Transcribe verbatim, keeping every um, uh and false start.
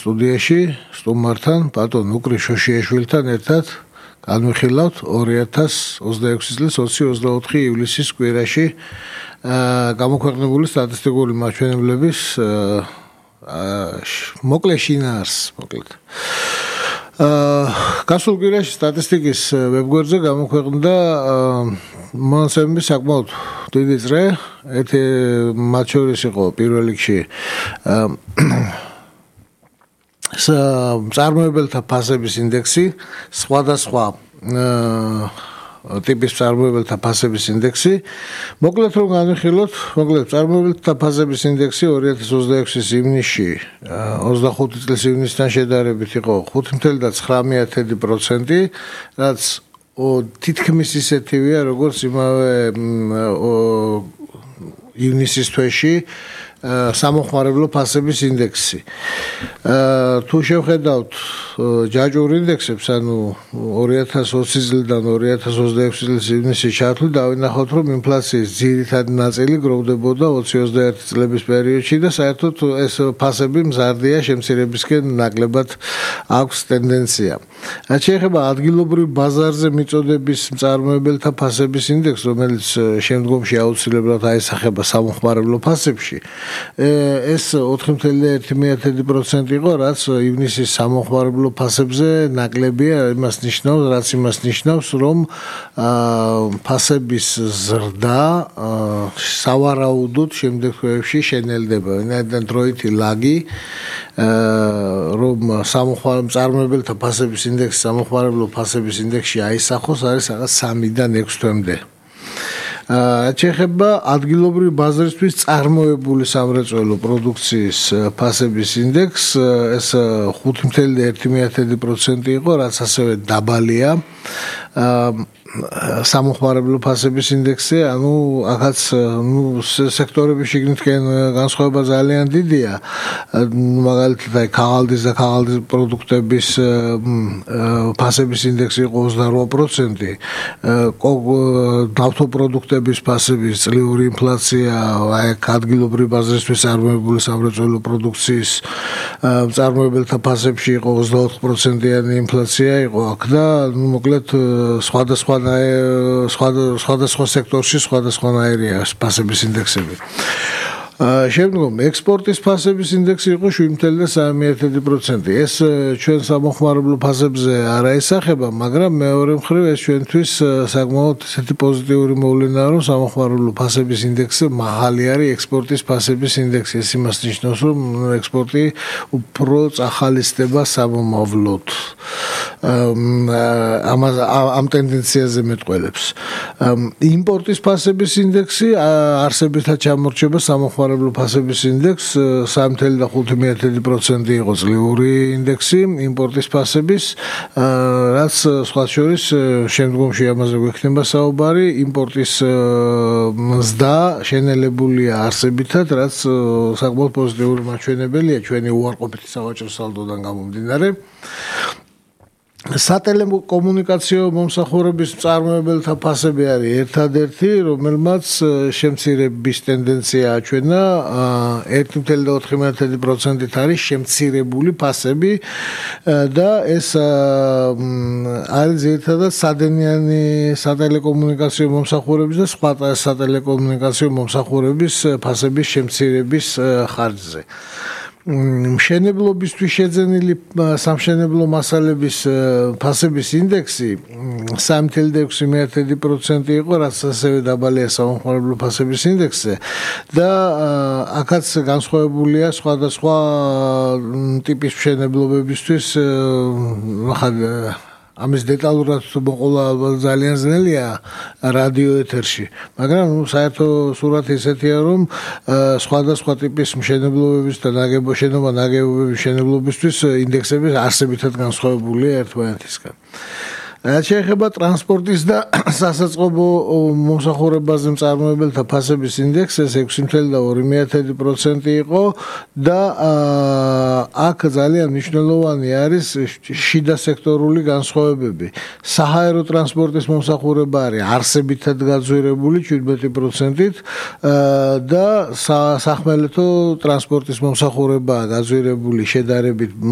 სტუდიაში სტუმართან ბატონ უკრი შოშიაშვილთან ერთად განვიხილავთ ორი ათას ოცდაექვსი წლის ოცი ოცდაოთხი ივლისის კვირაში გამოქვეყნებული სტატისტიკური მაჩვენებლების მოკლე შინაარს მოკლედ. გასულ კვირაში სტატისტიკის ვებგვერდზე გამოქვეყნდა მონაცემები საკმაოდ დიდი წრე, ერთი მათ შორის იყო პირველ რიგში მწარმოებელთა ფასების ინდექსი, სხვადასხვა ტიპის მწარმოებელთა ფასების ინდექსი. მოკლედ რომ განვიხილოთ, მოკლედ მწარმოებელთა ფასების ინდექსი ორი ათას ოცდაექვსის ივნისში ოცდახუთი წლის ივნისთან შედარებით იყო ხუთი ცხრა ცხრამეტი პროცენტი, რაც თითქმის ისეთივეა, როგორც იმავე ივნისის თვეში სამოხმარებლო ფასების ინდექსი. თუ შევხედავთ ჯაჭვურ ინდექსებს, ანუ ორი ათას ოცი წლიდან ორი ათას ოცდაექვსი წლის ივნისის ჩათვლით დავინახავთ, რომ ინფლაციის ძირითადი ნაწილი გროვდებოდა ოცი ოცდაერთი წლების პერიოდში და საერთოდ ეს ფასები მზარდია, შემცირებისკენ ნაკლებად აქვს ტენდენცია. რაც შეეხება ადგილობრივ ბაზარზე მიწოდების მწარმოებელთა ფასების ინდექსს, რომელიც შემდგომში აუცილებლად აისახება სამოხმარებლო ფასებში, ეს ოთხი ცხრა ერთი პროცენტი იყო, რაც ივნისის სამოხმარებლო ფასებზე ნაკლებია, იმას ნიშნავს, რაც იმას ნიშნავს, რომ ფასების ზრდა სავარაუდოდ შემდეგ თვეებში შენელდება. ვინაიდან დროითი ლაგი, რომ მწარმოებელთა ფასების ინდექსი სამოხმარებლო ფასების ინდექსში აისახოს, არის რაღაც სამიდან ექვს თვემდე. რაც შეეხება ადგილობრივი ბაზრისთვის წარმოებული სამრეწველო პროდუქციის ფასების ინდექსს, ეს ხუთი ცხრა ერთი პროცენტი იყო, რაც ასევე დაბალია სამოხმარებლო ფასების ინდექსზე, ანუ აქაც ნუ სექტორების შიგნითკენ განსხვავება ძალიან დიდია. მაგალითად, აი ქაღალდის და ქაღალდის პროდუქტების ფასების ინდექსი იყო ოცდარვა პროცენტი, ნავთობპროდუქტების ფასების წლიური ინფლაცია, აი ადგილობრივი ბაზრისთვის წარმოებული სამრეწველო პროდუქციის მწარმოებელთა ფასებში იყო ოცდაოთხ პროცენტიანი ინფლაცია იყო აქ და ნუ მოკლედ სხვადასხვა სხვადასხვა სექტორში სხვადასხვანაირია ფასების ინდექსები. შემდგომ ექსპორტის ფასების ინდექსი იყო შვიდ ცხრა სამი პროცენტი. ეს ჩვენ სამოხმარებლო ფასებზე არ აისახება, მაგრამ მეორე მხრივ ეს ჩვენთვის საკმაოდ ესეთი პოზიტიური მოვლენაა, რომ სამოხმარებლო ფასების ინდექსზე მაღალი არის ექსპორტის ფასების ინდექსი. ეს იმას ნიშნავს, რომ ექსპორტი უფრო წახალისდება სამომავლოდ. ამ ტენდენციაზე მეტყველებს. იმპორტის ფასების ინდექსი არსებითად ჩამორჩება სამოხმარებლო ფასების ინდექს სამი ცხრა ხუთი პროცენტი იყო წლიური ინდექსი იმპორტის ფასების, რაც სხვა შორის შემდგომში ამაზე გვექნება საუბარი, იმპორტის მზდა შენელებულია არსებითად, რაც საკმაოდ პოზიტიური მაჩვენებელია ჩვენი უარყოფითი სავაჭრო სალდოდან გამომდინარე. სატელეკომუნიკაციო მომსახურების მწარმოებელთა ფასები არის ერთადერთი, რომელმაც შემცირების ტენდენცია აჩვენა, ერთი ცხრა ოთხი პროცენტით არის შემცირებული ფასები და ეს არის ძირითადად სადენიანი სატელეკომუნიკაციო მომსახურების და სხვა სატელეკომუნიკაციო მომსახურების ფასების შემცირების ხარჯზე. მშენებლობისთვის შეძენილი სამშენებლო მასალების ფასების ინდექსი სამი ცხრა ექვსი პროცენტი იყო, რაც ასევე დაბალია სამოხმარებლო ფასების ინდექსზე და აქაც განსხვავებულია სხვადასხვა ტიპის მშენებლობებისთვის. ამის დეტალურად მოყოლა ძალიან ძნელია რადიო ეთერში, მაგრამ საერთო სურათი ისეთია, რომ სხვადასხვა ტიპის მშენებლობების და შენობა ნაგებობების მშენებლობისთვის ინდექსები არსებითად განსხვავებულია ერთმანეთისგან. რაც შეეხება ტრანსპორტის და სასაწყობო მომსახურებაზე მწარმოებელთა ფასების ინდექსს, ეს ექვსი ცხრა ორი პროცენტი იყო და აქ ძალიან მნიშვნელოვანი არის შიდა სექტორული განსხვავებები. საჰაერო ტრანსპორტის მომსახურება არის არსებითად გაძვირებული შვიდმეტი პროცენტით და სახმელეთო ტრანსპორტის მომსახურებაა გაძვირებული შედარებით